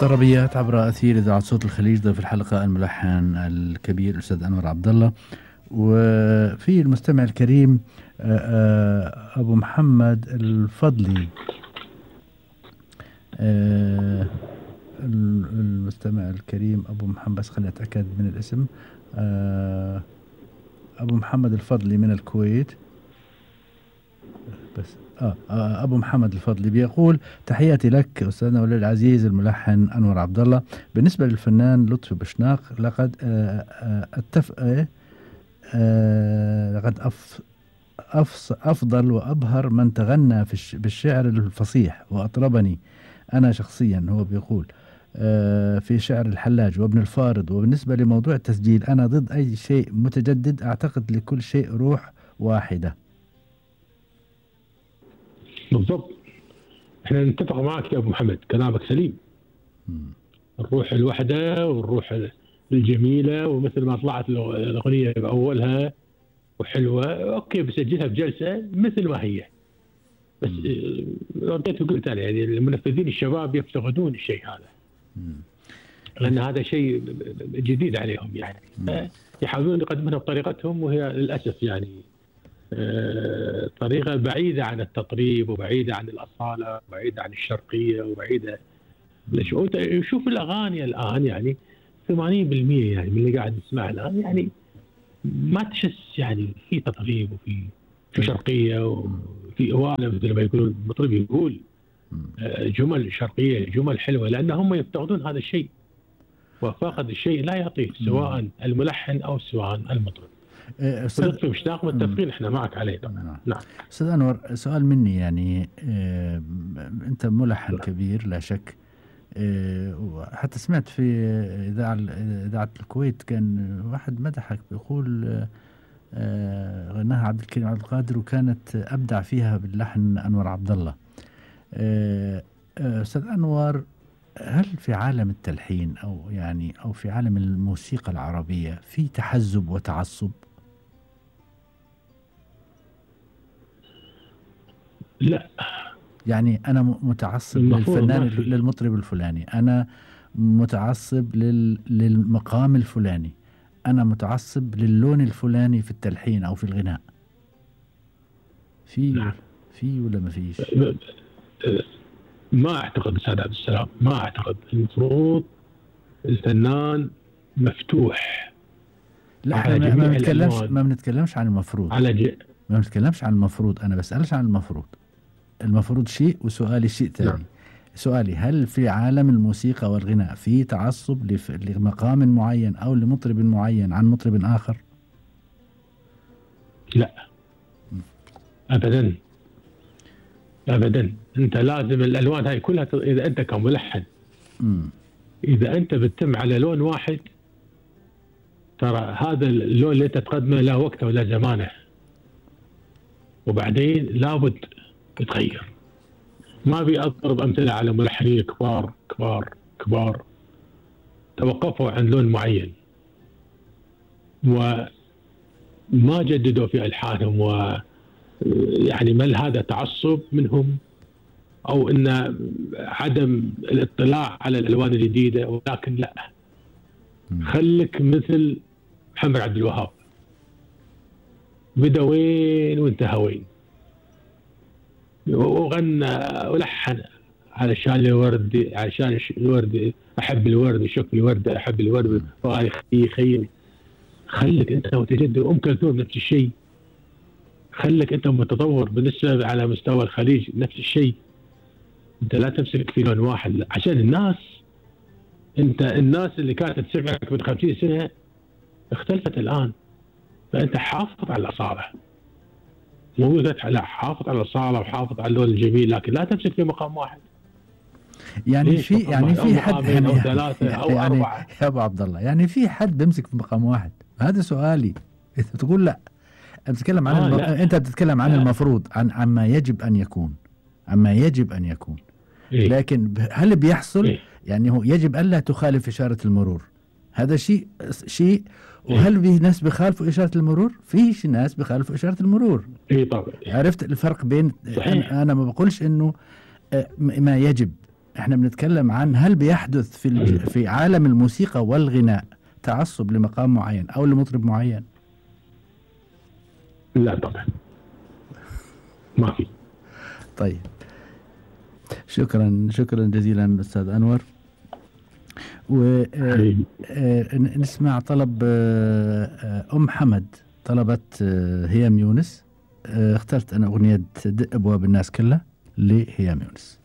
طربيات عبر أثير إذاعة صوت الخليج. ضيف الحلقة الملحن الكبير الأستاذ أنور عبد الله، وفي المستمع الكريم أبو محمد الفضلي. المستمع الكريم أبو محمد، بس خليني أتأكد من الاسم. أبو محمد الفضلي من الكويت. بس أبو محمد الفضلي بيقول: تحياتي لك أستاذنا ولي العزيز الملحن أنور عبد الله. بالنسبة للفنان لطفي بشناق، لقد أفضل وأبهر من تغنى بالشعر الفصيح وأطربني أنا شخصيا. هو بيقول في شعر الحلاج وابن الفارض. وبالنسبة لموضوع التسجيل، أنا ضد أي شيء متجدد، أعتقد لكل شيء روح واحدة. بالضبط، احنا نتفق معك يا ابو محمد، كلامك سليم. الروح الوحده والروح الجميله، ومثل ما طلعت الاغنيه باولها وحلوه، اوكي بسجلها بجلسه مثل ما هي. بس رديت وقلت انا يعني المنفذين الشباب يفتقدون الشيء هذا، لان هذا شيء جديد عليهم يعني. يحاولون يقدمونها بطريقتهم، وهي للاسف يعني طريقة بعيدة عن التطريب، وبعيدة عن الأصالة، وبعيدة عن الشرقية، وبعيدة. شوف الأغاني الآن يعني 80% يعني من اللي قاعد نسمعها الآن يعني ما تحس يعني في تطريب، وفي شرقية، وفي أوانة مثل ما يقولون المطرب يقول جمل شرقية، جمل حلوة، لأن هم يفتقدون هذا الشيء، وفاقد الشيء لا يعطيه سواء الملحن أو سواء المطرب. لطفي بشناق متفقين احنا معك عليه طبعا. نعم استاذ انور، سؤال مني يعني. انت ملحن كبير لا شك. حتى سمعت في اذاعه الكويت كان واحد مدحك بيقول غناها عبد الكريم عبد القادر، وكانت ابدع فيها باللحن انور عبد الله. استاذ انور، هل في عالم التلحين او في عالم الموسيقى العربيه في تحزب وتعصب؟ لا، يعني أنا متعصب للفنان للمطرب الفلاني، أنا متعصب للمقام الفلاني، أنا متعصب للون الفلاني في التلحين أو في الغناء. في ولا ما فيش؟ ما أعتقد أستاذ عبد السلام، ما أعتقد. المفروض الفنان مفتوح. لا، احنا ما بنتكلمش عن المفروض. ما بنتكلمش عن المفروض، أنا بسألش عن المفروض. المفروض شيء وسؤالي شيء ثاني. نعم. سؤالي: هل في عالم الموسيقى والغناء في تعصب لمقام معين أو لمطرب معين عن مطرب آخر؟ لا أبدا أبدا. أنت لازم الألوان هاي كلها، إذا أنت كملحن إذا أنت بتتم على لون واحد، ترى هذا اللون اللي أنت تقدمه له وقته ولا زمانه، وبعدين لابد تتغير. ما ابي اضرب امثله على ملحنين كبار كبار كبار توقفوا عن لون معين وما جددوا في الحانهم، ويعني ما هذا تعصب منهم او ان عدم الاطلاع على الالوان الجديده، ولكن لا، خليك مثل محمد عبد الوهاب، بدا وين وانتهى وين، وغنى ولحن علشان الورد، علشان الورد احب الورد، وشوف الورد احب الورد، وهاي خيل. خليك انت متجدد. ام كلثوم نفس الشيء، خليك انت متطور بالنسبه على مستوى الخليج نفس الشيء. انت لا تمسك في لون واحد عشان الناس. انت الناس اللي كانت تسمعك من 50 سنه اختلفت الان، فانت حافظ على الاصاله. مو لا، حافظ على الصالة وحافظ على اللون الجميل، لكن لا تمسك في مقام واحد. يعني في حد أو ثلاثة أو أربعة يا أبو عبد الله، يعني في حد بيمسك في مقام واحد؟ هذا سؤالي. أنت تقول لا، بتتكلم عن أنت بتتكلم عن المفروض، عما يجب أن يكون، عما يجب أن يكون. إيه؟ لكن هل بيحصل؟ إيه؟ يعني هو يجب ألا تخالف إشارة المرور، هذا شيء. وهل في ناس بيخالفوا إشارة المرور؟ فيش ناس بيخالفوا إشارة المرور. إيه طبعا. عرفت الفرق بين أنا ما بقولش إنه ما يجب، احنا بنتكلم عن هل بيحدث في عالم الموسيقى والغناء تعصب لمقام معين او لمطرب معين؟ لا طبعا ما في. طيب شكرا جزيلا أستاذ أنور. ونسمع طلب أم حمد، طلبت هيام يونس. اخترت أنا أغنية دق أبواب الناس كلها لهيام يونس.